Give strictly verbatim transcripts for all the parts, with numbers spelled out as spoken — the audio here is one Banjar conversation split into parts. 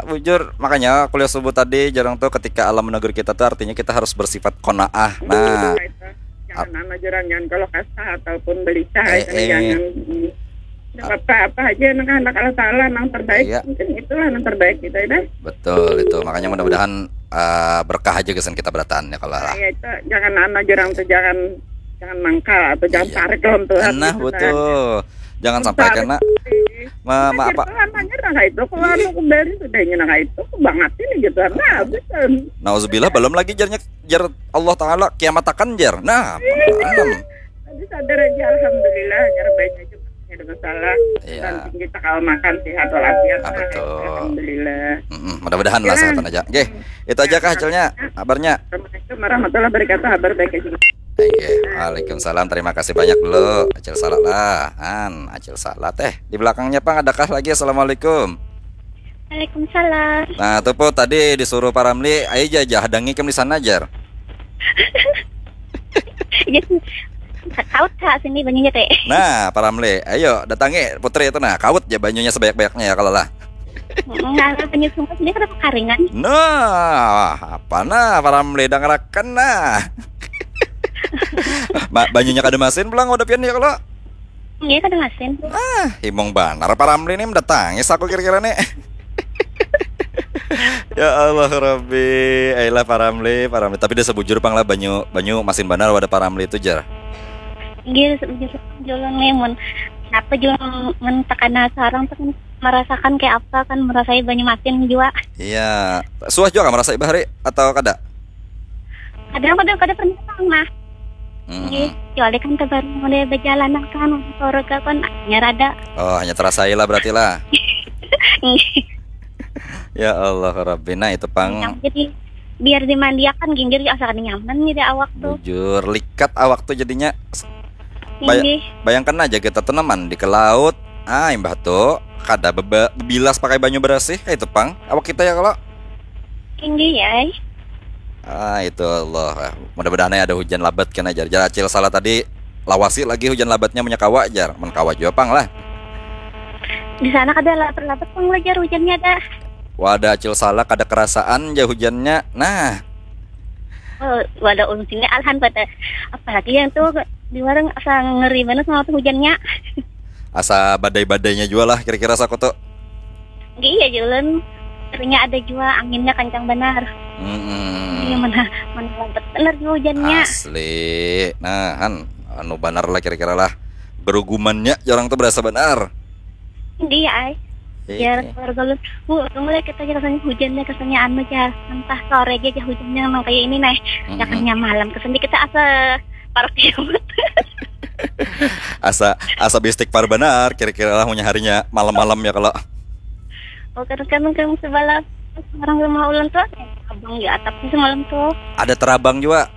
Bujur, makanya kuliah subuh tadi jarang tuh ketika alam menegur kita tuh artinya kita harus bersifat qanaah. Nah, Itu. Jangan anu jurang, jangan kalau kasar ataupun belicah Eh, itu eh. Jangan. Hmm. Nggak apa-apa aja, anak-anak Allah Ta'ala yang terbaik. Iya. Mungkin itulah yang terbaik kita ya. Betul itu. Makanya mudah-mudahan eh, berkah aja kesan kita berataan ya kalau lah. Ya itu jangan anu jurang tuh, jangan jangan mangkal atau jangan Iya. tarik dalam Tuhan. Nah, Gitu, betul. Jangan sampai kena ma, ma apa? Hanya nah itu kalau anu kembali sudah ini nah itu banget ini gitu. Nah, betul. Nauzubillah, belum lagi jarnya, jar Allah Ta'ala kiamatakan, jar. Nah, alam. Tadi sadar aja, alhamdulillah, nyarbain aja, tidak ada masalah. Iya. Penting kita kalau makan sehat walafiat. Ah, Nah, betul. Alhamdulillah. Mm-mm, mudah-mudahan lah Ya. sehat aja. Oke, itu aja kah hasilnya, kabarnya? Assalamualaikum warahmatullahi wabarakatuh. Kabar baik aja. Iya, waalaikumsalam. Terima kasih banyak dulu, Acil Salat lah. An, Acil Salat. Eh, di belakangnya pang adakah lagi? Assalamualaikum. Waalaikumsalam. Nah, tuh po tadi disuruh Pak Ramli, ayo aja, aja hadangi kam di sana, jar. Iya, kaut kak sini banyunya teh. Nah, Pak Ramli, ayo datangi putri itu nah, kaut aja banyunya sebanyak-banyaknya ya kalau lah. Nggak ada banyu sungai sini kada kekaringan. Nah, apa nah Pak Ramli dangarakan nah. Ma, banyunya kada masin pulang udah pian ya kalau. Iya kada masin. Ah, himung banar Pak Ramli nih mendatangi aku kira-kira nih. Ya Allah Rabbi, ayolah Pak Ramli, Pak Ramli. Tapi dia sebujur pang lah banyu banyu masin banar wadah Pak Ramli itu jar. Iya sebujur julun nih mun apa julun mun takana sarang tuh kan merasakan kayak apa kan merasai banyu masin jua. Iya, suah juga kan merasa bahari atau kada? Kadang-kadang kada pernah pang nah. Hmm. Iya, kecuali kan kabar mulai berjalan kan keluarga kan hanya rada. Oh, hanya terasa lah berarti lah. Nggih. Ya Allah Rabbi, nah itu pang Jadi biar dimandiakan ginggir asa kada nyaman nih di awak tuh. Bujur likat awak tuh jadinya. Bay- Nggih. Bayangkan aja kita tuh mandi ke laut, ah imbah tuh kada beba- bebilas pakai banyu bersih kayak itu pang awak kita ya kalau. Tinggi ya. Ah itu Allah. Mudah-mudahan ya ada hujan labat kan ajar. Jar Acil Salat tadi lawasi lagi hujan labatnya punya kawa jar. Men kawa jua pang lah. Di sana kada lapet-lapet pang lah jar hujannya dah. Wadah Acil Salat kada kerasaan ja hujannya. Nah, Oh, wadah ulun sini alhan pada apalagi yang tuh di warung asa ngeri banget sama tuh hujannya. Asa badai-badainya jua lah kira-kira saku tuh. Nggih iya julun. Seringnya ada jua anginnya kencang benar. Iya Mm-mm. mana mana lapet benar juga hujannya. Asli. Nah, han anu banar lah kira-kira lah. Gerugumannya orang tuh berasa benar. Nggih ya ay. Iya. Biar keluarga lu. Bu, mulai kita aja kesannya hujannya kesannya anu aja. Entah sore aja aja hujannya memang kayak ini nih. Mm-mm. Jangannya malam kesannya kita asa parah kiamat. Asa asa bistik par benar kira-kira lah punya harinya malam-malam ya kalau. Oh kan kan kan sebelah orang rumah ulun tuh ada abang di atapnya semalam tuh. Ada terabang juga.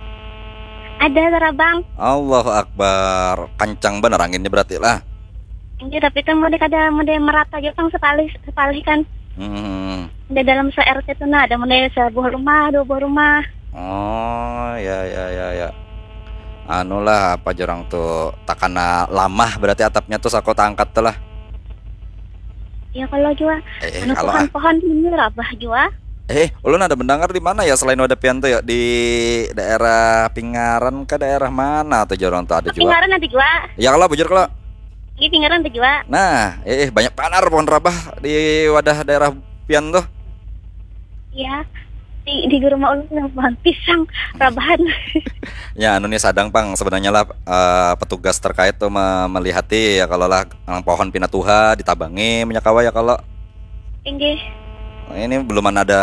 Ada terabang. Allahu Akbar. Kencang benar anginnya berarti lah. Iya tapi kan mulai kada mulai merata aja kan sepalih sepalih kan. Hmm. Ada dalam se-R T tuh nah ada mulai sebuah rumah dua buah rumah. Oh, ya ya ya ya. Anu lah apa jorang tuh takana lamah berarti atapnya tuh sako angkat tuh lah. Ya kalau jua Eh, anu kalau ah. Pohon-pohon ini rabah jua. Eh, ulun ada mendengar di mana ya selain wadah pian tuh ya di daerah Pingaran ke daerah mana tuh jorang tuh ada juga. Pingaran ada jua. Ya kalau bujur kalau. Ini Pingaran ada jua. Nah, eh eh, banyak panar pohon rabah di wadah daerah pian tuh. Iya. Di, di rumah ulun ada pohon pisang rabahan. Ya anu nih sadang pang sebenarnya lah eh, petugas terkait tuh me- melihati ya kalau lah nang pohon pina tuha ditabangi minyak kawa ya kalau. Inggih. Nah, ini belum ada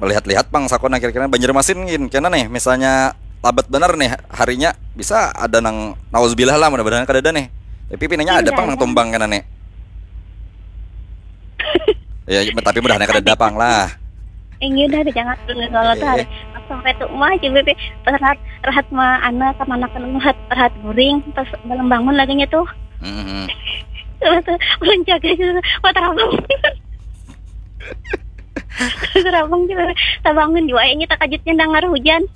melihat-lihat pang sako nah kira-kira Banjarmasin gin kena nih misalnya labat benar nih harinya bisa ada nang nauzubillah lah mudah-mudahan kada ada nih tapi pinanya ada Iya, pang nang ada. Tumbang kena nih ya tapi mudahan kada ada pang lah. Inggih dah jangan dulu kalau tuh hari. Sampai tuh mah coba pe rahat rahat mah anak kemanakan rahat rahat guring pas belum bangun lagi nya tuh. Mm-mm. Terus tuh ulun jaga gitu. Wah terabang. Terabang gitu. Tabangun jua ini takajutnya dengar hujan.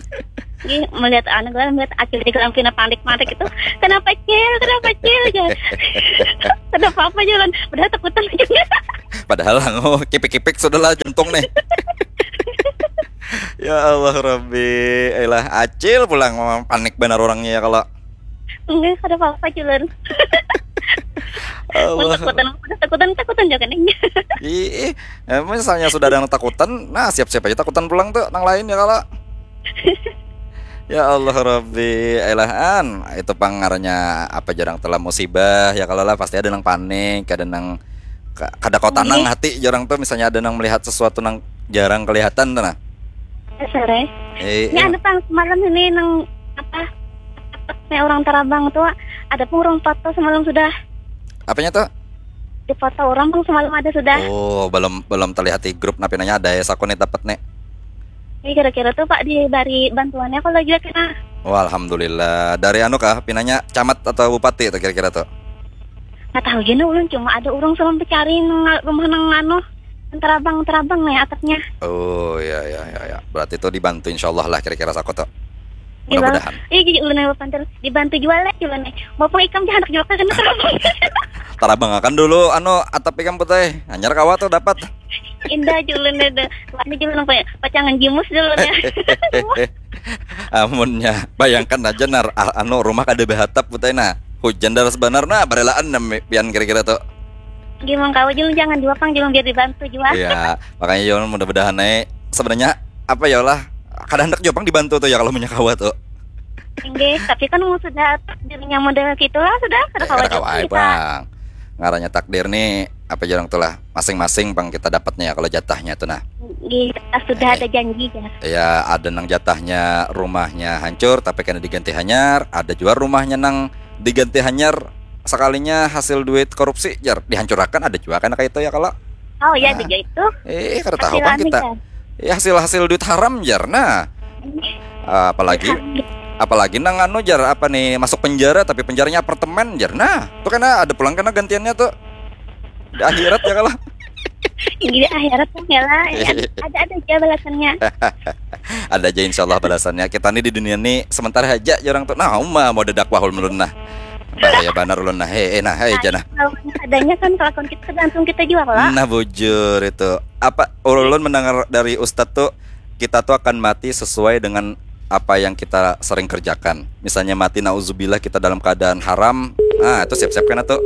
Ih, melihat anak gue melihat acil di dalam pina panik-panik itu. Kenapa cil? Kenapa cil? Aja. Kenapa apa jalan? Udah takutan aja. Padahal anu, kipik-kipik sudahlah jantung nih. Ya Allah Rabbi, ilah acil pulang, panik banar orangnya ya kalau. Enggak, kada apa-apa, Julun. Allah. Takutan, takutan, takutan juga nih. Ih, eh, misalnya sudah ada yang takutan, nah siap-siap aja takutan pulang tuh nang lain ya kalau. Ya Allah Rabbi, elahan itu pang ngarannya apa jarang telah musibah ya kalau lah pasti ada nang panik, ada nang ka- kada kau tanang hati jarang tuh misalnya ada nang melihat sesuatu nang jarang kelihatan tuh nah. Sore. Eh, Ini eh, ada pang semalam ini nang apa? Kayak orang tarabang tuh ada pun orang foto semalam sudah. Apanya tuh? Di foto orang pun semalam ada sudah. Oh, belum belum terlihat di grup napi nanya ada ya saku nih dapat nih. Ini kira-kira tuh Pak diberi bantuannya kalau juga kena. Wah, alhamdulillah. Dari anu kah pinanya camat atau bupati tuh kira-kira tuh? Nggak tahu juga ulun, cuma ada orang semalam pencari nang rumah nang anu, tarabang, tarabang nih atapnya. Oh, ya ya ya ya. Berarti tuh dibantu insyaallah lah kira-kira saku tuh. Iya, Bang. Mudah-mudahan. Iya, jadi ulun yang pantil dibantu jual lah, jual nih. Mau pun ikam jangan jual kan tarabang. Tarabang akan dulu anu atap ikam putai. Hanyar kawa tuh dapat. Indah, julun ada. Wah, ini julun apa ya? Pacangan jimus julun ya. Amunnya bayangkan aja nar ah, anu rumah kada behatap putai nah. Hujan deras banar nah barelaan nami pian kira-kira tuh. Gimana kau, julun jangan jua pang, julun biar dibantu jua. Iya, makanya Yon mudah-mudahan naik. Sebenarnya apa ya lah kada hendak jua pang dibantu tuh ya kalau punya kawa tuh. Inggih, tapi kan mau sudah takdirnya model gitulah sudah, kada Eh, kawa kada jua kawa ai kita. Pang. Ngarannya takdir nih apa jarang tuh lah masing-masing pang kita dapatnya ya kalau jatahnya tuh nah. Inggih, kita sudah ada janji ya. Ya ada nang jatahnya rumahnya hancur tapi kena diganti hanyar, ada juga rumahnya nang diganti hanyar sekalinya hasil duit korupsi jar dihancurakan ada juga kena kayak itu ya kalau. Oh ya, Nah. Tiga itu. Eh kada tahu Hasil kan anu kita. kan? Ya hasil hasil duit haram jar nah. Apalagi apalagi nang anu jar apa nih masuk penjara tapi penjaranya apartemen jar nah. Tuh kena ada pulang kena gantiannya tuh. Di akhirat ya kalau. Gini akhirat pun ya lah, ya, ada ada aja balasannya. Ada aja insyaallah balasannya. Kita nih di dunia nih sementara aja jarang tuh. Nah, uma mau dakwah ulun nah. Bahaya banar ulun nah. Hei, eh, nah, hei aja nah. Kalau adanya kan kelakuan kita tergantung kita juga lah. Nah, bujur itu. Apa ulun mendengar dari ustadz tuh kita tuh akan mati sesuai dengan apa yang kita sering kerjakan. Misalnya mati nauzubillah kita dalam keadaan haram. Nah, itu siap-siap kena tuh.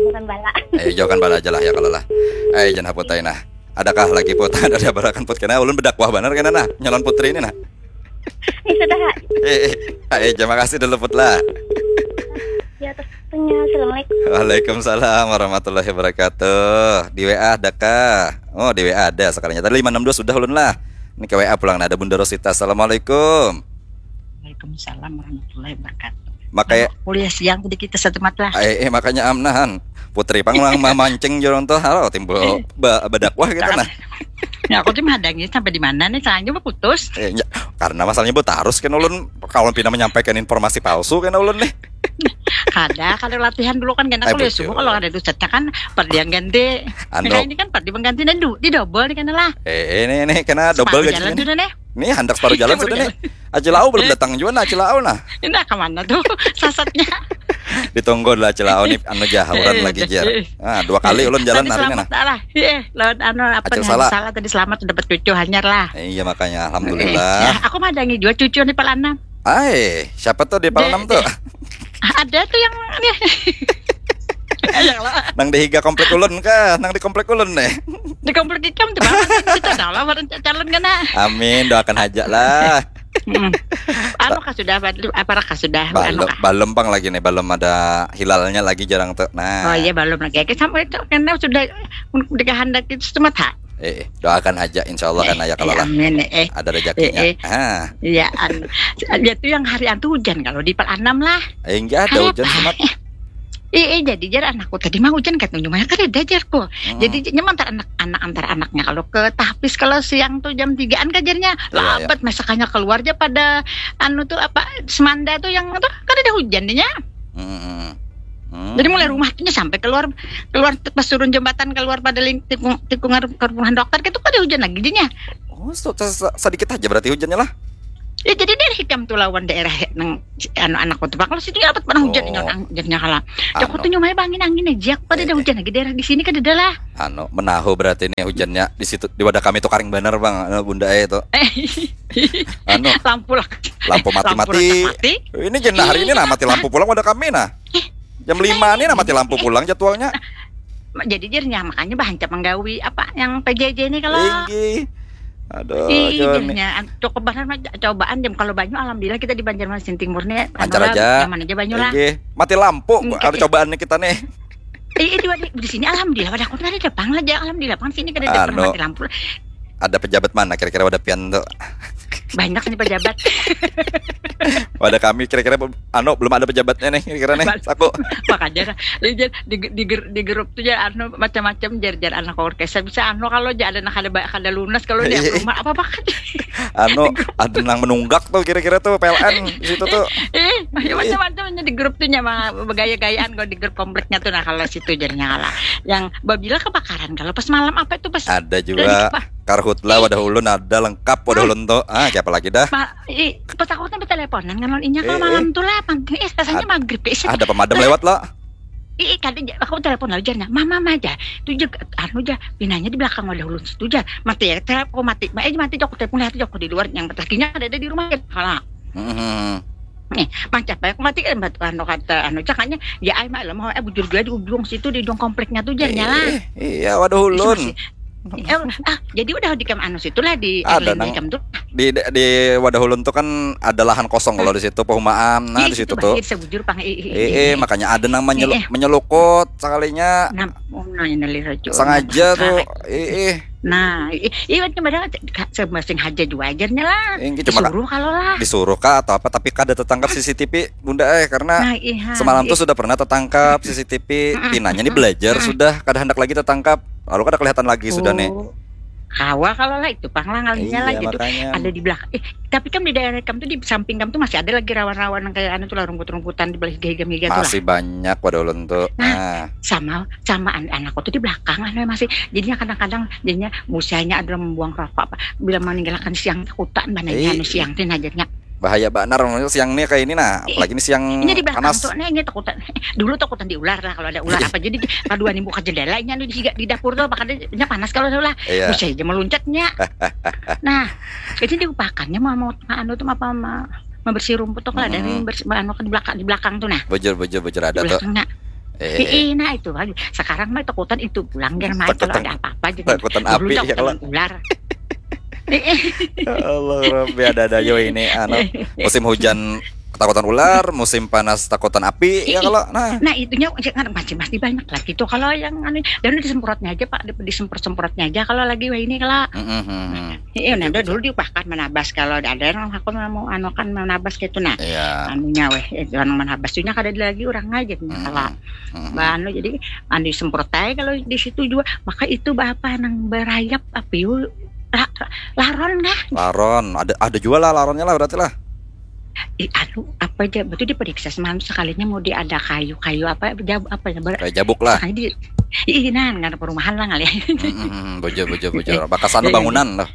Bukan bala. Eh, jauhkan bala aja lah ya kalau lah. Eh, jangan haputai nah. Adakah lagi put ada barakan put kena ulun bedakwah banar kena nah nyalon putri ini nah. Ini sudah. Eh, eh, eh, terima kasih dulu put lah. Ya, terusnya assalamualaikum. Waalaikumsalam warahmatullahi wabarakatuh. Di W A ada kah? Oh, di W A ada sekalinya. Tadi lima enam dua sudah ulun lah. Ini ke W A pulang nah ada Bunda Rosita. Assalamualaikum. Waalaikumsalam warahmatullahi wabarakatuh. Makanya Kuliah siang tadi kita satu mat lah. eh, eh makanya amnahan. Putri pang nang mamancing jorong tuh halo timbul ba- bedakwah kita nah. Ya aku tuh menghadangi sampai di mana nih, sayangnya putus. Eh, nya- karena masalahnya buat harus kan ulun kalau pina menyampaikan informasi palsu kan ulun nih. Kada, kada latihan dulu kan kena Ai, kuliah bujur. Subuh, kalau ada dusatnya kan perdi yang ganti. Anu. Nah, ini kan perdi mengganti dan du, di double nih kena lah. Eh, ini ini kena double Separuh jalan gajinya. Sudah nih. Nih handak separuh jalan sudah nih. Acilau belum datang juga nah Acilau nah. Ini ke mana tuh sasatnya? Ditunggu lah Acilau nih anu jahuran lagi jar. Nah, dua kali ulun jalan Tadi hari ini selamat nah. Lah. Iya, lawan anu apa Acil nih? Salah. Salah tadi selamat dapat cucu hanyar lah. Eh, iya makanya alhamdulillah. Nah, aku madangi juga cucu di Palanam. Ai, siapa tuh di Palanam tuh? Ada tuh yang ini. Yang lah. Nang di higa komplek ulun kah? Nang di komplek ulun nih. Di komplek ikam tuh Bang. Kita tahu lah orang calon kena. Amin, doakan aja lah. Hmm. Anu kah sudah apa kah sudah Belum, anu kah? Belum pang lagi nih, belum ada hilalnya lagi jarang tuh. Nah. Oh iya, belum lagi. Oke, sampai itu karena sudah dikehendaki itu cuma tak. Eh, eh, doakan aja insyaallah kan ya kalau Ya, lah. amin eh. Ada rezekinya. Eh, eh. Ah, Iya, anu. Dia tuh yang hari antu hujan kalau di Palanam lah. eh enggak ada Hari hujan apa? semat. Eh, eh, jadi jar anakku tadi mah hujan katanya lumayan kada ada jarku. Mm-mm. Jadi nyaman antar anak anak antar anaknya kalau ke tahfiz kalau siang tuh jam tigaan kajarnya Iya, labat masakannya keluar aja pada anu tuh apa semanda tuh yang tuh kan ada hujan dinya. Mm-mm. Hmm. Jadi mulai rumah tuh sampai keluar keluar pas turun jembatan keluar pada ling- tikung tikungan ke rumah dokter gitu kada hujan lagi dinya. Oh, so- so- so- sedikit aja berarti hujannya lah. Ya, jadi daerah ikam tu lawan daerah nang anu anakku tu, Pak. Kalau situ ya dapat pernah hujan. Oh. Hujannya kalah. Aku tuh nyumai bangin angin aja. Aku kada ada hujan lagi daerah di sini, kada ada lah. Anu, menahu berarti nih hujannya di situ, di wadah kami tuh karing banar, Bang. Anu, Bunda eh tuh. Anu, lampu lah. Lampu mati-mati. Ini jenah hari ini nah mati lampu pulang wadah kami nah. Jam lima nih nah mati lampu pulang jadwalnya. Jadi jarnya makanya bahancap menggawi apa yang P J J ini kalau. Tinggi. Aduh, iya, cukup banget mah cobaan jam kalau banyu alhamdulillah kita di Banjarmasin Timur nih lancar aja. Nyaman aja banyu lah. Mati lampu ada cobaan nih kita nih. Iya, di sini alhamdulillah pada aku tadi depan aja alhamdulillah kan sini kada ada anu, mati lampu. Ada pejabat mana kira-kira wadah pian tuh? Banyak nih pejabat. Wadah kami kira-kira anu belum ada pejabatnya nih kira-kira nih. Aku makanya di, di, di, di grup tuh ya anu macam-macam jar-jar anak orkestra bisa anu kalau aja ada nak ada ada lunas kalau dia rumah apa apa kan. Anu ada nang menunggak tuh kira-kira tuh P L N di situ tuh. Eh, macam-macamnya di grup tuh nyama bergaya-gayaan kalau di grup kompleknya tuh nah kalau situ jadinya kalah. Yang babila kebakaran kalau pas malam apa itu pas ada juga. Karhutla wadah ulun ada lengkap wadah ulun tuh. Ah, siapa lagi dah? Pas aku kan berteleponan ngalon inya kalau malam tuh lah pang. Eh, rasanya maghrib ya. Ada pemadam lewat lah. Ih, kada aku telepon lah ujarnya. Mama aja. Tuh aja anu aja pinanya di belakang wadah ulun situ aja. Mati ya, aku mati. Eh, mati aku telepon lihat aku di luar yang lakinya ada di rumah ya. Kalah. Hmm. Nih, mancap aku mati kan anu kata anu cakanya ya ai malam mau eh bujur juga di ujung situ di ujung kompleknya tuh jarnya lah. Iya, waduh ulun. Ah, jadi udah di kam anu situ lah di ada nang di, di wadah ulun tuh kan ada lahan kosong kalau di situ perumahan nah di situ tuh. Sebujur pang eh, eh, makanya ada nang menyelukut sekalinya. Nah, oh, nah, ini lihat sengaja tuh. Eh, eh. Nah, iya macam ada semasing haja juga ajarnya lah. Disuruh kalau lah. Disuruh kah atau apa tapi kada tertangkap C C T V. Bunda eh karena nah, iya, semalam iya. Tuh sudah pernah tertangkap C C T V pinanya nih belajar sudah kada hendak lagi tertangkap lalu kada kelihatan lagi oh. Sudah nih. Hawa kalau lah itu pang lah ngalinya iya, lah gitu makanya. Ada di belakang eh, tapi kan di daerah kamu tuh di samping kamu tuh masih ada lagi rawan-rawan yang kayak anu tuh lah rumput-rumputan di belakang higa-higa gitu masih lah. Banyak pada ulun tuh nah, nah. Sama sama an anakku tuh di belakang lah masih jadinya kadang-kadang jadinya usianya ada membuang rokok apa bila meninggalkan siang takutan bananya anu siang tuh nah jadinya. Bahaya banar siang nih kayak ini nah apalagi ini siang ini di belakang panas. Tuh nih ini takutan dulu takutan di ular lah kalau ada ular apa jadi kaduan buka jendela ini anu di, di dapur tuh apa kadanya panas kalau ada ular iya. Bisa aja meluncatnya. Nah jadi diupakannya mau mau anu tuh apa mau membersih rumput tuh kalau ada yang bersih anu di belakang di belakang tuh nah bujur bujur bujur ada tuh. Eh, nah itu aja. Sekarang mah takutan itu pulang dia mah kalau ada apa-apa gitu. Takutan api ya kalau ular. Ya Allah Rabbi ada-ada yo ini anu musim hujan takutan ular, musim panas takutan api ya kalau nah. Nah itunya kan masih masih banyak lagi tuh kalau yang anu dan disemprotnya aja Pak disemprot-semprotnya aja kalau lagi wah ini kalau. Iya nah dulu diupahkan menabas kalau ada yang aku mau anu kan menabas gitu nah. Iya. Anunya weh itu anu menabas tuh kada ada lagi orang aja kalau. Anu jadi anu disemprot aja kalau di situ juga maka itu apa nang berayap api laron kah? Laron ada ada juga lah laronnya lah berarti lah. Ih, anu apa aja betul diperiksa semalam sekalinya mau di ada kayu-kayu apa jab, apa ya ber, kayak jabuk lah. Di, ih nah nggak ada perumahan lah kali. Hmm, bujur bujur bujur. Bakas anu bangunan lah.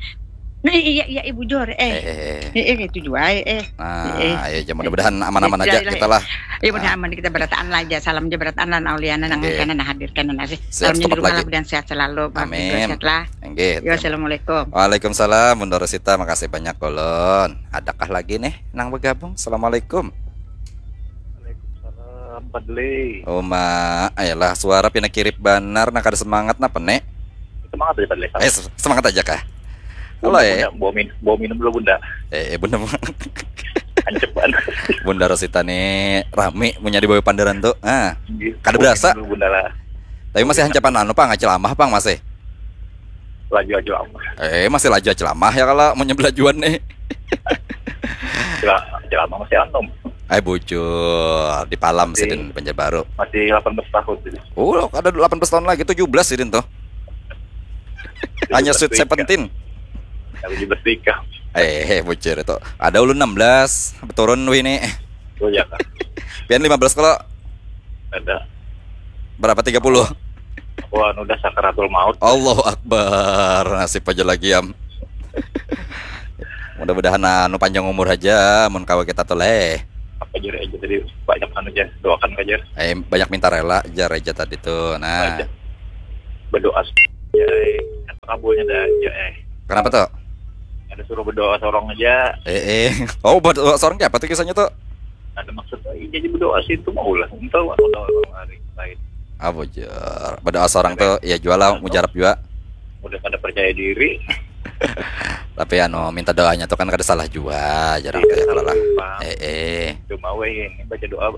Nah, iya iya ibu jor eh. Eh, eh, eh. Eh, eh itu juga eh. Nah, eh. Ya mudah-mudahan aman-aman aja kita lah. Iya mudah aman kita berataan lah aja. Salam aja berataan lah Auliana nang kena nah hadirkan nasi. Salamnya di rumah lah dan sehat selalu. Amin. Sehat lah. Nggih. Yo, assalamualaikum. Waalaikumsalam, Bunda Rosita, makasih banyak ulun. Adakah lagi nih nang bergabung? Assalamualaikum. Waalaikumsalam, Padli. Uma, ayolah suara pina kirip banar, nah kada semangat napa nek? Semangat aja Padli. Eh, semangat aja kah? Halo eh. Bunda, bawa, min, bawa minum dulu Bunda. Eh, eh Bunda. Ancepan. Bunda Rosita nih rame punya di bawah pandaran tuh. Ah, kada berasa. Bunda lah. Tapi masih hancapan anu pang, celamah pang masih. Laju aja lama. Eh, masih laju aja lama ya kalau mau nyebelajuan nih. Aja lama masih anom. Ay bujur di Palam sidin Banjarbaru. Masih delapan belas tahun sih. Oh, ada delapan belas tahun lagi, tujuh belas sidin tuh. Hanya Sweet Seventeen. Yang tujuh belas nikah. Eh, bujur itu. Ada ulun enam belas, turun wih nih. Oh ya kan. Pian lima belas kalau. Ada. Berapa tiga puluh? Wah, udah sakaratul maut. Allahu Akbar, nasib aja lagi am. Mudah-mudahan anu panjang umur aja mun kawa kita tuh leh. Apa jar aja tadi, banyak anu aja doakan aja. Eh, banyak minta rela jar aja tadi tuh. Nah. Aja. Berdoa aja eh. Apa kabulnya dah aja eh. Kenapa tuh? Ada suruh berdoa sorong aja. Eh eh. Oh, berdoa sorong apa tuh kisahnya tuh? Ada maksud eh, jadi berdoa sih itu mau lah. Entah orang hari lain. Ah, bujur. Berdoa sorong tuh ya jual lah, mujarab juga. Udah pada percaya diri. Tapi anu minta doanya tuh kan kada salah jua, jarang iya, kayak kalau lah. Eh eh. Cuma weh ini baca doa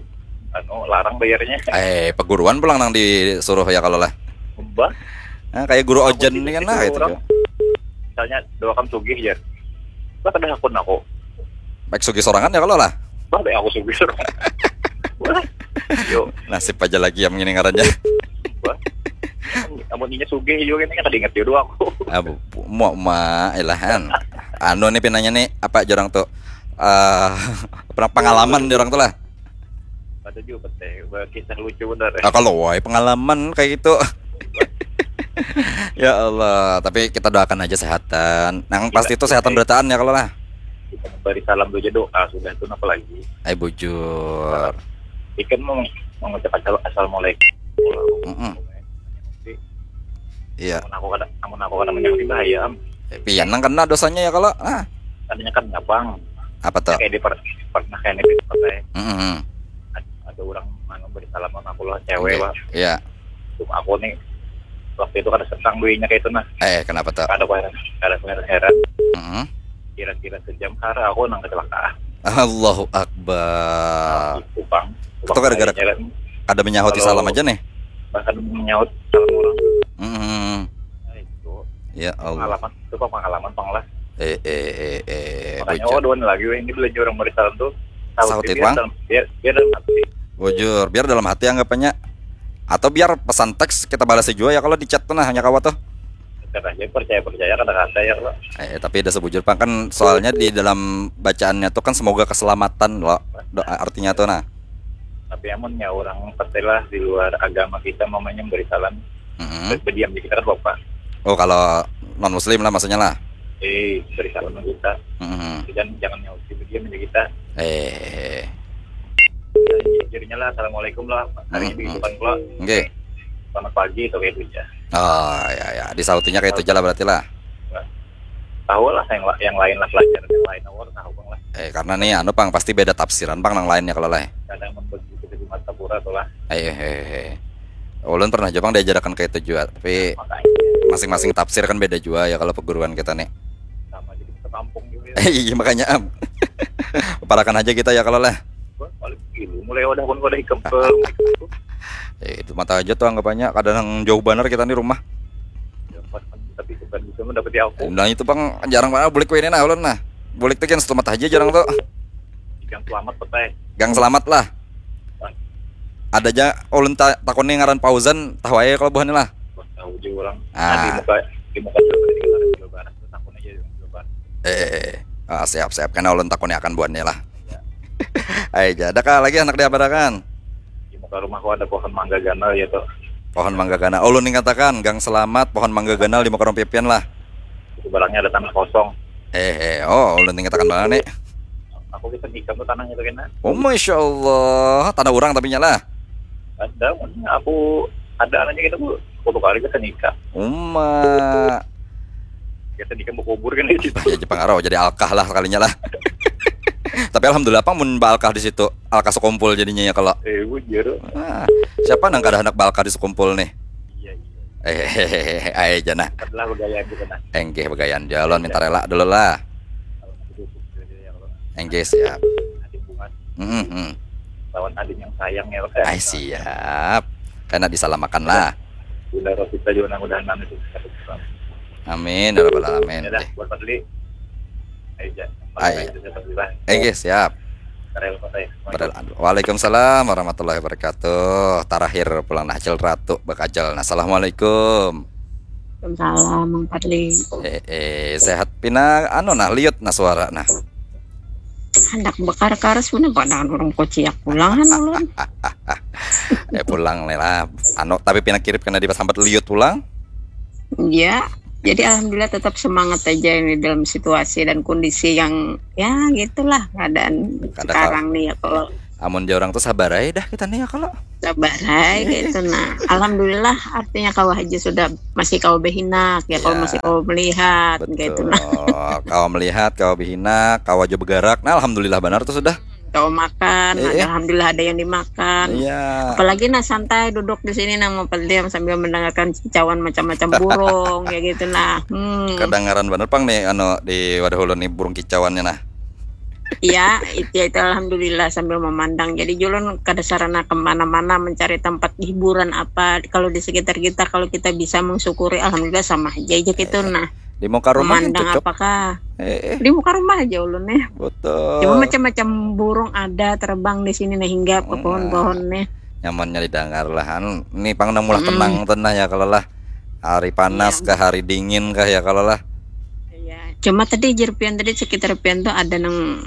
anu larang bayarnya. Eh, peguruan pulang nang disuruh ya kalau lah. Mbah. Nah, kayak guru ojen ini kan lah itu. Misalnya doakan sugih ya. Lah kada hakun aku. Baik sugih sorangan ya kalau lah. Bah, baik aku sugih sorangan. Yo. Nasib aja lagi yang ini ngarannya. Bah. Amun inya sugih juga ini kada ingat jodoh aku. Abu, mau ma ilahan. Anu nih pinanya nih apa jorang tuh? Uh, pengalaman jorang tuh lah. Ada juga teh, kisah lucu benar ya. Ah, kalau wai pengalaman kayak gitu. Ya Allah, tapi kita doakan aja sehatan. Nang pasti itu sehatan berataan ya kalau lah. Kita memberi salam dulu aja doa sudah itu apa lagi? Ay bujur. Ikan mau mengucap asal assalamualaikum. Mm -mm. Iya. Namun aku kada, namun aku kada menyakiti bahaya am. Eh, pian nang kena dosanya ya kalau. Ah. Tadinya kan nyapang. Apa tuh? Kayak di per, pernah kayak di pakai. Mm -hmm. Ada, ada orang anu beri salam sama aku loh cewek okay. Lah. Iya. Cuma aku nih waktu itu kada sentang duitnya kayak itu nah. Eh, kenapa tuh? Kada heran, kada heran. Mm -hmm. Kira-kira sejam hari aku nang kecelakaan. Allahu Akbar. Itu bang. Itu gara-gara kada menyahut salam aja nih. Bahkan menyahut salam orang. Mm -hmm. Nah, itu. Ya Allah. Pengalaman itu pengalaman pang lah. Eh eh eh eh. Makanya oh dua lagi ini belajar orang beri salam tuh. Sahut itu bang. Biar, biar dalam hati. Bujur, biar dalam hati anggapannya. Atau biar pesan teks kita balas juga ya kalau di chat tuh nah hanya kawa tuh. Kata aja percaya percaya kata kata ya kalau. Eh tapi ada sebujur pang kan soalnya di dalam bacaannya tuh kan semoga keselamatan loh doa artinya tuh nah. Tapi amunnya orang pertilah di luar agama kita mamanya memberi salam hmm. Berdiam di kita kan bapak. Oh kalau non muslim lah maksudnya lah. Eh beri salam kita. Hmm. Dan jangan nyauti berdiam di kita. Eh. Jadinya lah assalamualaikum lah. Hari hmm. Ini bukan pula. Oke. Okay. Selamat pagi atau kayak itu aja. Oh ya ya. Disautinya kayak itu aja lah berarti lah. Tahu lah yang yang lain lah pelajaran yang lain awal tahu bang lah. Eh karena nih anu pang pasti beda tafsiran pang nang lainnya kalau lah. Kadang begitu di mata pura tuh lah. Eh eh eh. Ulun pernah juga diajarakan kayak itu juga, tapi masing-masing tafsir kan beda juga ya kalau perguruan kita nih. Sama jadi sekampung juga ya. Iya makanya am. Parakan aja kita ya kalau lah. Mulai udah pun udah ikam ke eh, itu mata aja tuh anggapannya kadang jauh banget kita nih rumah. Tapi bukan bisa mendapati aku. Nah itu bang jarang banget bulik ini nah ulun nah. Bulik tuh kan satu mata aja jarang tuh. Gang selamat petai. Gang selamat lah. Ada aja ulun ta takuni ngaran Fauzan tahu aja kalau buhannya lah. Tahu aja orang. Ah. Nah, di muka di muka Jawa Barat takun aja di Jawa Barat. Eh, eh, eh. Ah, siap siap karena ulun takuni akan buhannya lah. Ya. Ayo aja. Ada kah lagi anak diabarakan? Di muka rumahku ada pohon mangga ganal ya tuh. Pohon mangga ganal. Ulun ingatakan gang selamat pohon mangga ganal di muka rumah pipian lah. Itu barangnya ada tanah kosong. Eh, eh, oh, ulun tinggal tekan mana nih? Aku bisa nikah tuh tanahnya tuh kena. Oh, masya Allah, tanah orang tapi nyala. Ada, aku ada aja gitu bu, sepuluh kali kita nikah. Uma. Kita nikah mau kubur kan itu. Ya, Jepang Arau jadi alkah lah kalinya lah. Tapi alhamdulillah apa mun balkah di situ, alkah sekumpul jadinya ya kalau. Eh, bujur. Nah, siapa nang kada hendak balkah di sekumpul nih? Iya, iya. Eh, ayo jana. Adalah begayaan juga nah. Enggih begayaan jalon minta rela dulu lah. Enggih siap. Adik bunga. Hmm, hmm. Lawan adik yang sayang ya. Ay siap. Karena disalamakan lah. Bunda Rosita juga nang udah nang itu. Amin ya rabbal alamin. Ya dah, buat Fadli. Ayo. Enggih siap. Waalaikumsalam warahmatullahi wabarakatuh. Terakhir pulang nah Acil Ratu bakajal. Nah, assalamualaikum. Waalaikumsalam Mang Fadli. Eh, eh sehat pina anu nah liut nah suara nah. Hendak bakar karas mana pandangan orang kociak pulang kan ulun. Eh pulang nih lah. Anu tapi pina kirip kena disambat liut pulang. Iya. Jadi alhamdulillah tetap semangat aja ini dalam situasi dan kondisi yang ya gitulah keadaan Kada sekarang nih ya kalau Amun jar urang tuh sabar aja dah kita nih ya kalau. Sabar aja gitu nah. Alhamdulillah artinya kawa aja sudah masih kawa behinak ya kalau Ya. Masih kawa melihat gitu Betul. Nah. Kawa melihat, kawa behinak, kawa jua bergerak. Nah, alhamdulillah banar tuh sudah. Kawa makan, Eh, ada eh. Alhamdulillah ada yang dimakan. Iya. Apalagi nah santai duduk di sini nah mau pendiam sambil mendengarkan kicauan macam-macam burung ya gitu nah. Hmm. Kedengaran bener pang nih anu di wadah ulun nih burung kicauannya nah. Iya, itu itu alhamdulillah sambil memandang. Jadi julun kada sarana kemana-mana mencari tempat hiburan apa kalau di sekitar kita kalau kita bisa mensyukuri alhamdulillah sama aja aja gitu nah. Di muka rumah kan Memandang cocok. Apakah Eh, eh, di muka rumah aja ulun nih. Cuma Betul. Macam-macam burung ada terbang di sini nah hingga ke pohon-pohon nih. Nyamannya didengar lah. Anu, ini pang nang mulah tenang tuh nah ya kalau lah. Hari panas Iya. Ke hari dingin kah ya kalau lah. Iya. Cuma tadi jar pian tadi sekitar pian tuh ada nang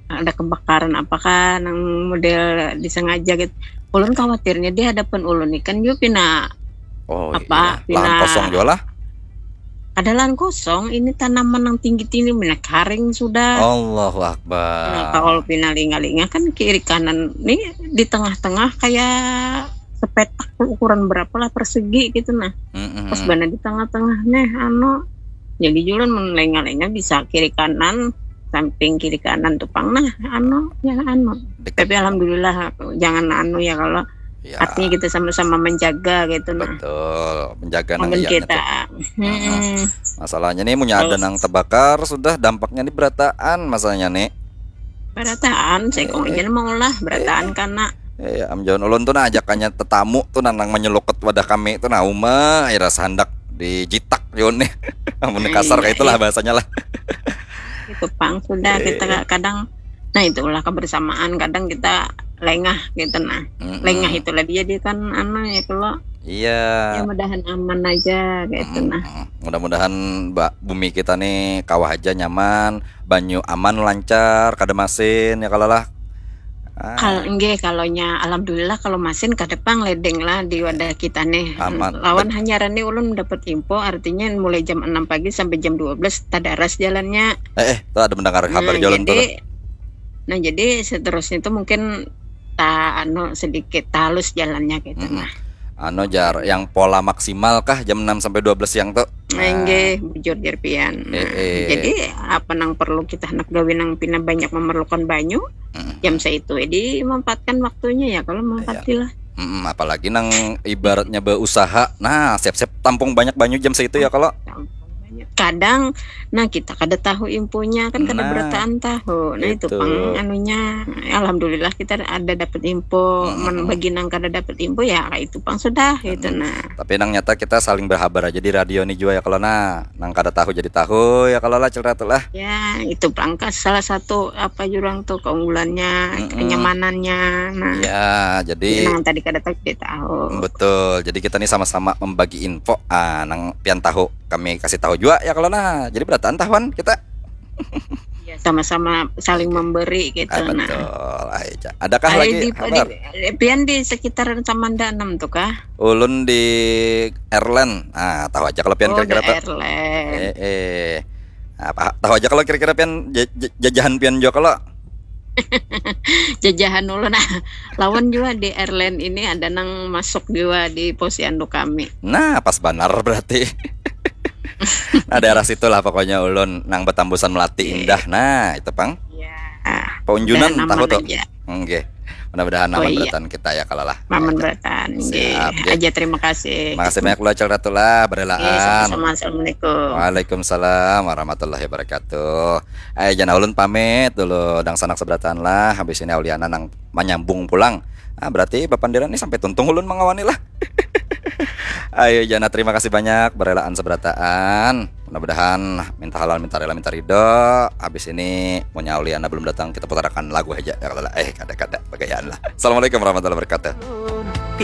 ada kebakaran apakah nang model disengaja gitu. Ulun khawatirnya di hadapan ulun nih kan juga pina Oh Apa? Iya. Lahan Pina- kosong juga lah. Ada lahan kosong, ini tanaman yang tinggi-tinggi, mana karing sudah. Allahu Akbar. Nah, kalau pina linga-linga kan kiri kanan nih di tengah-tengah kayak sepetak tuh ukuran berapa lah persegi gitu nah. Mm-mm. Pas bana di tengah-tengah nih anu. Jadi julun mun lenga-lenga bisa kiri kanan, samping kiri kanan tuh pang nah anu ya anu. Dekat. Tapi alhamdulillah jangan anu ya kalau Ya. Artinya kita sama-sama menjaga gitu nah. Betul, menjaga nang Mungkin iya kita. Tuh. Hmm. Masalahnya nih punya ada Terus- nang terbakar sudah dampaknya nih berataan masalahnya nih. Berataan, sekong Eh, aja mau lah berataan karena Eh, am jawan ulun tuh nah ajakannya tetamu tuh nang nang menyelukut wadah kami tuh nah uma air rasa hendak dijitak Yun nih. Amun Iya, kasar kayak itulah iya. Bahasanya lah. Itu pang sudah Eh. Kita kadang nah itulah kebersamaan kadang kita lengah gitu nah. Mm-mm. Lengah itulah dia dia kan anu ya kalau Iya. Ya mudahan aman aja gitu nah. Mm-mm. Mudah-mudahan ba- bumi kita nih kawah aja nyaman, banyu aman lancar, kada masin ya kalau lah. Ah, Kal enggak kalaunya alhamdulillah kalau masin kada pang ledeng lah di wadah kita nih. Aman. Lawan hanya nih ulun dapat info artinya mulai jam enam pagi sampai jam dua belas tadaras jalannya. eh, eh, tuh ada mendengar kabar Nah, jalan tuh. jadi nah jadi seterusnya itu mungkin ta anu sedikit halus jalannya gitu Mm-mm. nah. Anu jar, yang pola maksimal kah jam enam sampai dua belas siang tuh? Nah, enggak bujur jar pian. Nah, Eh, eh. Jadi apa nang perlu kita hendak gawe nang pina banyak memerlukan banyu, Mm-mm. jam saitu ya dimanfaatkan waktunya ya kalau manfaatilah. Mm-mm, apalagi nang ibaratnya berusaha, nah siap-siap tampung banyak banyu jam saitu ya kalau. Kadang nah kita kada tahu infonya kan kada Nah, berataan tahu. Nah itu itu. Pang anunya alhamdulillah kita ada dapat info. Mm-mm. Mun bagi nang kada dapat info ya itu Pang sudah gitu nah. Tapi nang nyata kita saling berhabar aja di radio nih jua ya kalau nah. Nang kada tahu jadi tahu ya kalau lah cerita tuh lah. Ya itu Pang salah satu apa jurang tuh keunggulannya, Mm-mm. Kenyamanannya. Nah, Ya, jadi nang tadi kada tahu jadi tahu. Betul. Jadi kita nih sama-sama membagi info. Ah, nang pian tahu kami kasih tahu juga ya kalau nah. Jadi berataan tahuan kita. Ya, sama-sama saling memberi gitu Ah, nah. Betul. Ayo, Ca. Adakah Ayo lagi di, kabar? Di, pian di sekitaran Samanda enam tuh kah? Ulun di Airland. Ah, tahu aja kalau pian Oh, kira-kira di tuh. Airland. Eh, eh. Apa tahu aja kalau kira-kira pian ja- ja- jajahan pian juga kalau. Jajahan ulun nah. Lawan juga di Airland ini ada nang masuk juga di posyandu kami. Nah, pas banar berarti. Nah, daerah situ lah pokoknya ulun nang betambusan melati Iya. Indah. Nah, itu pang. Ya. Paunjunan Dan tahu aman tuh. Aja. Enggak. Mudah-mudahan Oh, aman iya. Berataan kita ya kalau lah. Aman Ayo, Ca. Berataan. Siap, Nggih. ya. Aja terima kasih. Makasih banyak lah Cil Ratu lah, Nggih, berelaan. Sama-sama. Assalamualaikum. Waalaikumsalam warahmatullahi wabarakatuh. Ayo, jana ulun pamit dulu, dangsanak seberataan lah. Habis ini Auliana nang menyambung pulang. Ah, berarti bapandiran nih sampai tuntung ulun mengawani lah. Ayo, jana terima kasih banyak berelaan seberataan. Mudah-mudahan minta halal, minta rela, minta ridho. Habis ini, munnya Auliana belum datang, kita putarakan lagu aja ya kalau lah. Eh, kada-kada, bagayaan lah. Assalamualaikum warahmatullahi wabarakatuh.